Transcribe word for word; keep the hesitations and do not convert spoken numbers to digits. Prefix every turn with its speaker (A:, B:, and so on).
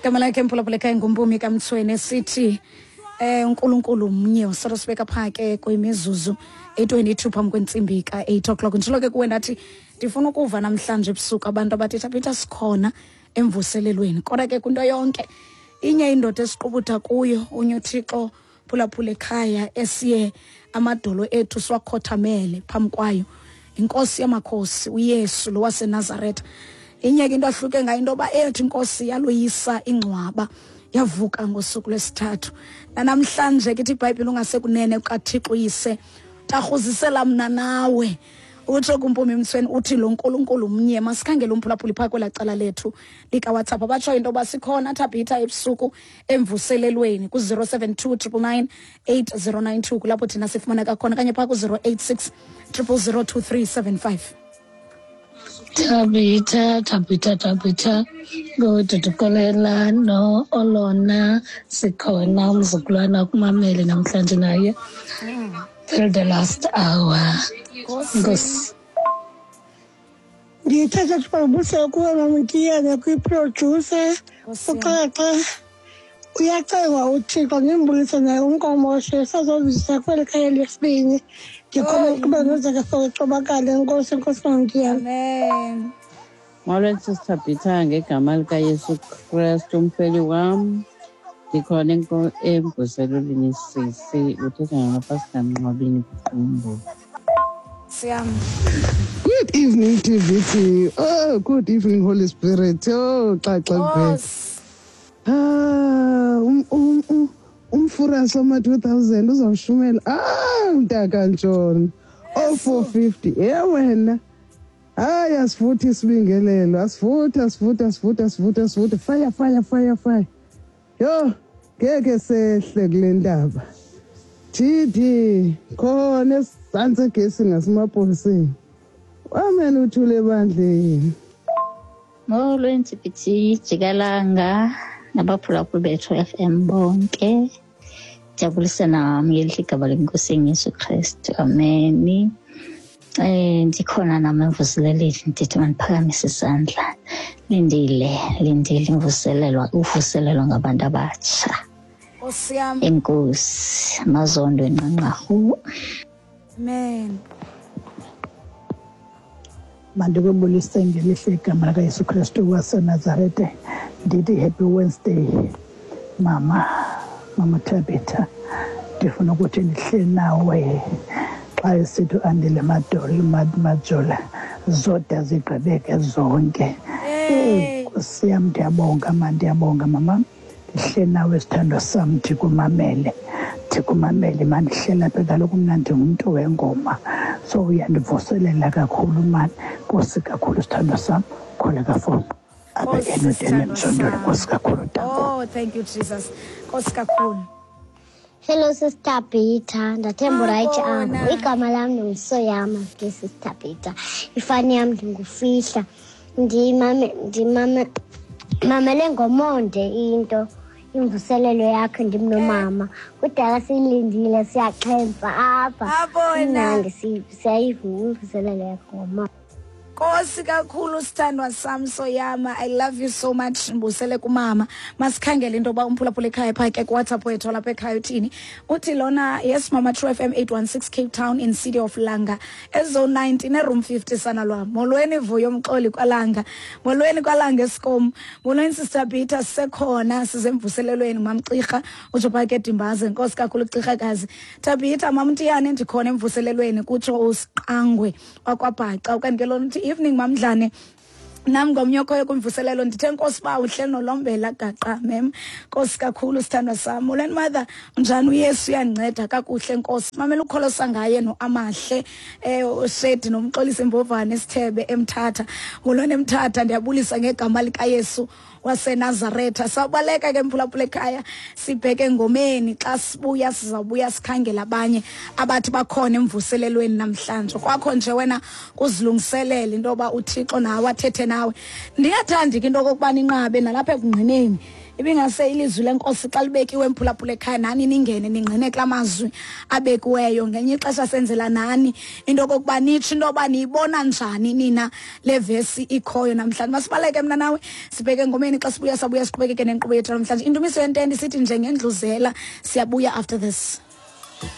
A: Igama lakhe mphulaphula ekhaya nguMpumi kaMtsweni sithi eh uNkulunkulu mnye usoro sibeka pha ke kwimizuzu eyi-twenty-two phambi kwentsimbi ka-eight o'clock. Nditshilo ke kuwe ndathi ndifuna ukuva namhlanje ebusuku abantu abathi Thabitha sikhona emvuselelweni. Kodwa ke kwinto yonke inye indoda esiqubutha kuyo unye uThixo phulaphula ekhaya esiye amadolo ethu siwakhothamele phambi kwayo, inkosi yamakhosi uYesu lo waseNazaretha. Inye ke into ahluke ngayo into yoba ethi inkosi yaloyisa ingcwaba yavuka ngosuku lwesithathu. Nanamhlanje ke ithi iBhayibhile ungasekunene kukaThixo uyise tarhuzisela mna nawe. Utsho kuMpumi Mtsweni uthi lo Nkulunkulu mnye. Masikhangele umphulaphuli phaa kwelaa cala lethu likaWhatsApp. Abatsho into yoba sikhona Thabitha ebusuku emvuselelweni ku-zero seven two triple nine eight zero nine two, kulapho thina sifumaneka khona, okanye phaa ku-zero eight six triple zero two three seven five.
B: Thabitha, Thabitha, Thabitha, nguDudukolela no Olona sikhona umzukulwana kumamele namhlanje naye till the last hour. Nkosi.
C: Ndithetha sibabuse kuwe Mamtiyane kwi-producer uXaxa. Uyacengwa uThixo ndimbulise naye uNkomoshe sazozisa kweli khaya lesibini. Ndikhona ukuba nozeke socobakale. Enkosi, enkosi Mamtiyane.
A: Amen.
D: Molweni Sister Thabitha, ngegama likaYesu Kristu umfeli wam. Ndikhona emvuselelweni sisi, uthetha noPastor Mnqwabini Qumbu.
A: Siyam.
E: Good evening T V T. Oh, good evening Holy Spirit. Oh, Xaxa Bhele. Ah, um um um umfurasi wama two thousand uzawushumela. Ah, mntaka Ntshona. Oh, four fifty. Yeah wena. Hayi asifuthi isibingelelo. Asifuthi, asifuthi, asifuthi, asifuthi, asifuthi. Fire, fire, fire, fire. Yo, ngeke sehle kule ndaba. T D khona esantsi egesi ngasemapoliseni. Amen uthule ebandleni.
F: Molweni T P T jikalanga nabaphulaphuli bethu F M bonke. Jabulise nami ngelihle igama leNkosi Yesu Kristu. Amen. Eh ndikhona nami emvuselelweni, ndithi mandiphakamise isandla. Lindile, lindile imvuselelo, uvuselelo ngabantu abatsha.
A: Nkosi yam.
F: Enkosi, Mazondo enqanqarhu.
A: Amen.
C: Mandikubulise ngelihle igama likaYesu Kristu waseNazaretha. Ndithi happy Wednesday mama, mama Thabitha. Ndifuna ukuthi ndihle nawe xa esithi Andile Madolo, Majola, zoda zigqibeke zonke. Nkosi yam, ndiyabonga ma, ndiyabonga mama. Ndihle nawe sithandwa sam, ndikumamele, ndikumamele ma, ndihleli apha kaloku mna ndingumntu wengoma, so uyandivuselela kakhulu mani. Nkosi kakhulu sithandwa sam, kholeka fom apha enodeni emjondolo. Nkosi kakhulu.
A: Oh, thank you Jesus. Nkosi kakhulu.
G: Hello Sister Peter, ndathemba right apho. Igama lam ndinguSoyama ke Sister Peter. Ifani yam ndingufihla. Ndimame ndimame mamele ngomonde into imvuselelo yakho ndimnomama. Kudala siyilindile siyaxhentsa apha. Mnandi siyayiva imvuselelo yakho ngomama.
A: Nkosi kakhulu sithandwa sam Soyama, I love you so much. Mbusele kumama. Masikhangele into yoba umphulaphula ekhaya phaa ke kuWhatsApp wethu lapha ekhaya uthini. Uthi lona, yes mama, True F M eight one six Cape Town in City of Langa. Ezone nineteen room fifty sana lwam. Molweni Vuyo Mxoli kwaLanga. Molweni kwaLanga Eskom. Molweni Sister Peter sekhona sizemvuselelweni Mamcirha utsho phaa ke Dimbaze. Nkosi kakhulu Cirhakazi. Thabitha Mamtiyane ndikhona emvuselelweni kutsho uSiqangwe wakwaBhaca. Ukanti ke lona uthi evening Mamdlane, nam ngomnye okhoyo kwimvuselelo ndithe nkosi ba uhle nolombela gaqa mem. Nkosi kakhulu sithandwa sam. Molweni mother, unjani? uYesu uyandinceda kakuhle nkosi. Mamela ukholosa ngaye noAmahle eh uShedi nomxolisi Mbovane Sithebe eMthatha. Molweni eMthatha, ndiyabulisa ngegama likaYesu waseNazaretha. Sawubaleka ke mphulaphula ekhaya sibheke engomeni. Xa sibuya sizawubuya sikhangela abanye abathi bakhona emvuselelweni namhlanje. Kwakho nje wena kuzilungiselela into yoba uThixo nawe athethe nawe. Ndingathandi ke into okokuba ninqabe nalapha ekungqineni Ibingase ilizwi lenkosi xa libekiwe, mphulaphula ekhaya, nani ningene ningqine kula mazwi abekiweyo. Ngenye ixesha senzela nani into okokuba nitsho into yoba niyibona njani nina le vesi ikhoyo namhlanje. Masibaleke mna nawe sibheke engomeni, xa sibuya sabuya siqhubekeke nenkqubo yethu namhlanje. Indumiso yentente isithi njengendluzela. Siyabuya after this.